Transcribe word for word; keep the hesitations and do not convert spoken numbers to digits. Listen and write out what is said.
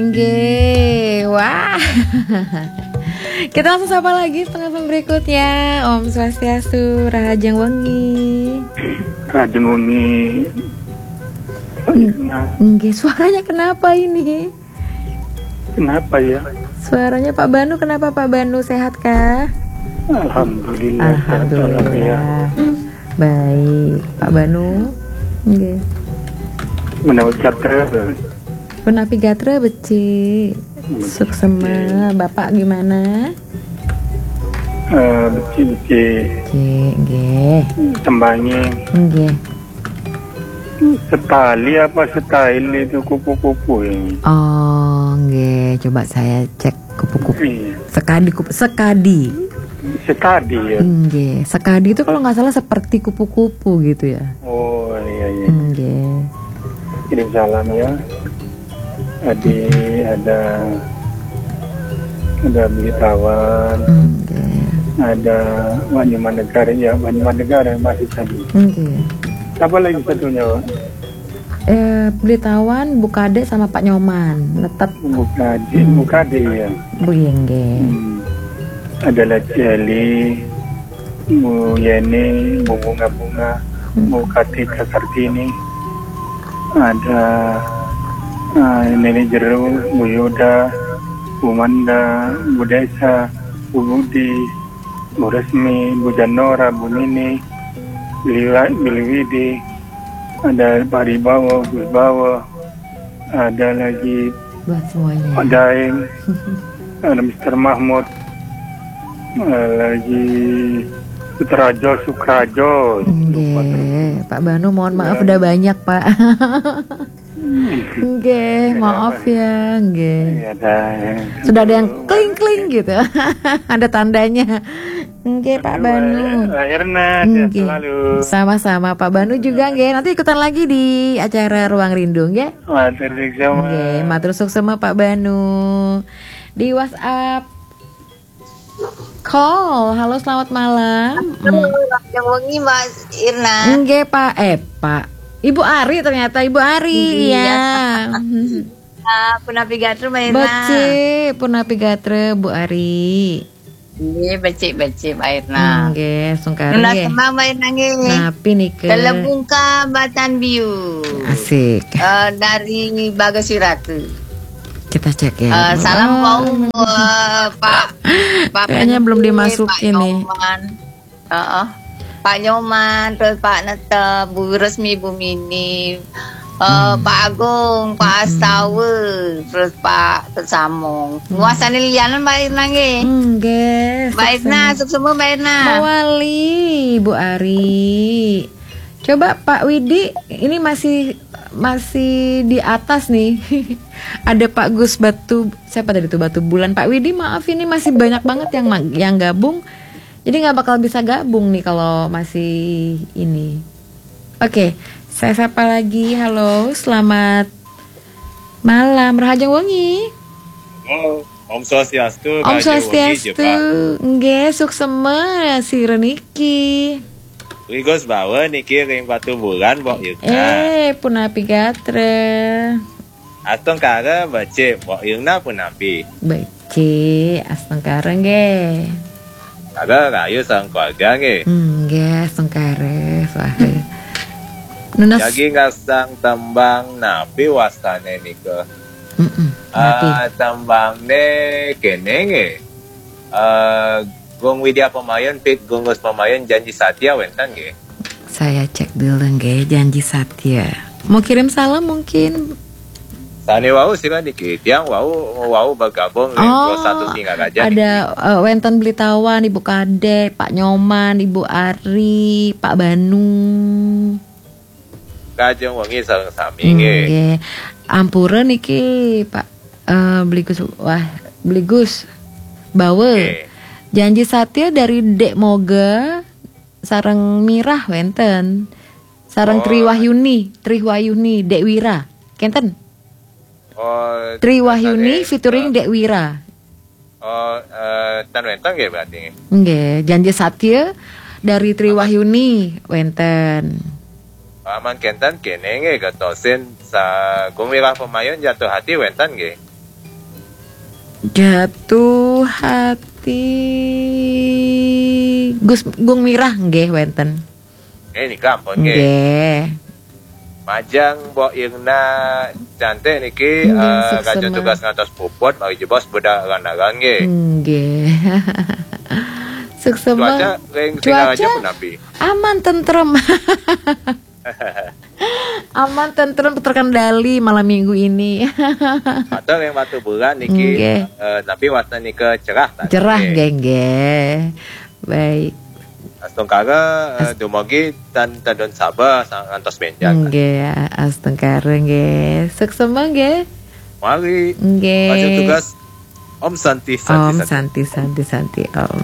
Nggih, wah. Kita langsung sapa lagi penelpon berikutnya. Om Swastiastu, Rahajeng Wengi. Rahajeng Wengi. Nggih, suaranya kenapa ini? Kenapa ya? Suaranya Pak Banu, kenapa Pak Banu, sehat kah? Alhamdulillah. Sehat, alhamdulillah. Alhamdulillah. Baik, Pak Banu. Nggih. Menawi kata Punapi gatra becik. Suksema, Bapak gimana? eh, becik-becik Cik, nggih. Tembangi Nggih. Setali apa style itu kupu-kupu ini? Oh, nggih. Coba saya cek kupu-kupu. Iya. Sekadi kupu, sekadi. Sekadi ya. Nggih. Sekadi itu kalau nggak salah seperti kupu-kupu gitu ya. Oh iya iya. Nggih. Kirim salam ya. Tadi ada ada Beli Tawan, Nggih. Ada Wak Nyoman Negara ya, Wak Nyoman Negara masih tadi. Nggih. Siapa lagi satunya, Wak? Eh, Beli Tawan, Bu Kadek sama Pak Nyoman. Tetap Bu Kadek, Bu Kadek ya. Bu Yengge. Hmm. Ada Laceli, Bu Yeni, Bu Bunga-Bunga, Bu Kartika Kartini. Ada ah, Nenek Jeru, Bu Yuda, Bu Manda, Bu Desa, Bu Budi, Bu Resmi, Bu Janora, Bu Nini, Bili Wa- Bili Widi, ada Pak Ribawa, Gus Bawa, ada lagi Buat semuanya. Pak Daeng, ada Mister Mahmud, ada lagi Sutrajo, Sukrajo. Nggih, Pak Banu, mohon maaf udah banyak, Pak. Nggih, maaf ya, nggih. Ya, Daeng. Sudah ada yang kling-kling gitu. Ada tandanya. Nggih, Pak Banu. Mbak Erna, sehat Nggih. Selalu. Sama-sama Pak Banu juga nggih. Nanti ikutan lagi di acara Ruang Rindu nggih. Matur suksma. Nggih, matur suksma Pak Banu. Di WhatsApp call. Halo, selamat malam. Hmm. Yang wengi Mbak Irna. Nggih, Pak. Eh, Pak. Ibu Ari ternyata, Ibu Ari. Iya. Ya. Ah, punapi gatra Mbak Irna. Becik, punapi gatra, Bu Ari. Nggih, becik-becik Mbak Irna. Nggih, sungkan Nunas nggih. Tembang Mbak Irna nggih. Napi nika? Telebungka Batan Biu. Asik. Eh, dari Bagus Wirata. Kita cek ya. Eh, salam Oh, wau eh, Pak Pak Kayaknya belum Pensi, dimasukin Pak nih. Nyoman. Heeh. Pak Nyoman, terus Pak Netep, Bu Resmi, Bu Mini, eh, Hmm. Pak Agung, Pak Astawa, terus Pak Tesamong. Wasane lianan Mbak Irna nggih. Nggih. Mbak Irna, Sukses. Suksma Mbak Irna. Mawali, Bu Ari. Coba Pak Widi, ini masih masih di atas nih. Ada Pak Gus Batu, siapa tadi tuh, Batu Bulan. Pak Widi, maaf, ini masih banyak banget yang ma- yang gabung. Jadi nggak bakal bisa gabung nih kalau masih ini. Oke, saya sapa lagi. Halo, selamat malam, Rahajeng Wengi. Oh, Om Swastiastu, Om Raja Wengi, Swastiastu. Jepang. Nggih, suksema, sira niki. Rigus Bawa niki ring Batu Bulan, Mbok Yuna. Eh, punapi gatra. Astungkara becik, Mbok Yuna punapi. Becik, astungkara nggih. Kara rahayu sareng keluarga nggih. Hmm, nggih, astungkara, swaha. Nunas. Jagi ngasang tembang napi wastane nika? Mm-mm, napi? Ah, tembangne kene nggih. Eh, Gung Widya Pemayun fit Gung Gus Pemayun, Janji Satya wenten nggih. Saya cek dulu nggih, Janji Satya. Mau kirim salam mungkin? Sane wau sira niki, tiang wau wau bergabung ring Oh, dua satu Singaraja ada niki. Eh, wenten Beli Tawan, Ibu Kadek, Pak Nyoman, Ibu Ari, Pak Banu. Rahajeng Wengi sareng sami nggih. Nggih. Ampura niki, Pak eh, Beli Gus, wah, Beli Gus Bawa. Nggih. Janji Satya dari Dek Moga sareng Mirah wenten. Sareng Oh. Tri Wahyuni, Tri Wahyuni, Dek Wira. Kenten? Oh, Tri Wahyuni eh, featuring Dek Wira. Oh, eh, tan wenten nggih berarti nggih. Nggih, Janji Satya dari Tri Wahyuni wenten. Aman kenten kene nggih gatosin sa Gung Wirah Pemayun, Jatuh Hati wenten nggih. Jatuh hati. Gus Gung Mirah nggih wénten. Eh, nika ampun nggih. Nggih. Majeng Mbok Irna cantik niki Nggih, eh, suksema. Kajeng tugas ngantos puput mari jebos budak ranaran nggih. Nggih. Suksema. Cuaca ring Singaraja Cuaca? Punapi. Aman, tentrem. Aman, tentrem, terkendali malam minggu ini. Atau ring Batubulan niki Nggih. eh, tapi wasna nika cerah tah. Cerah nggih, nggih. Baik. Astungkara eh, dumugi tan tedun Sabah sa- ngantos bénjang. Nggih, astungkara nggih. Suksema nggih. Mari. Nggih. Kajeng tugas Om Santi Santi Om Santi. Santi Santi Santi Om.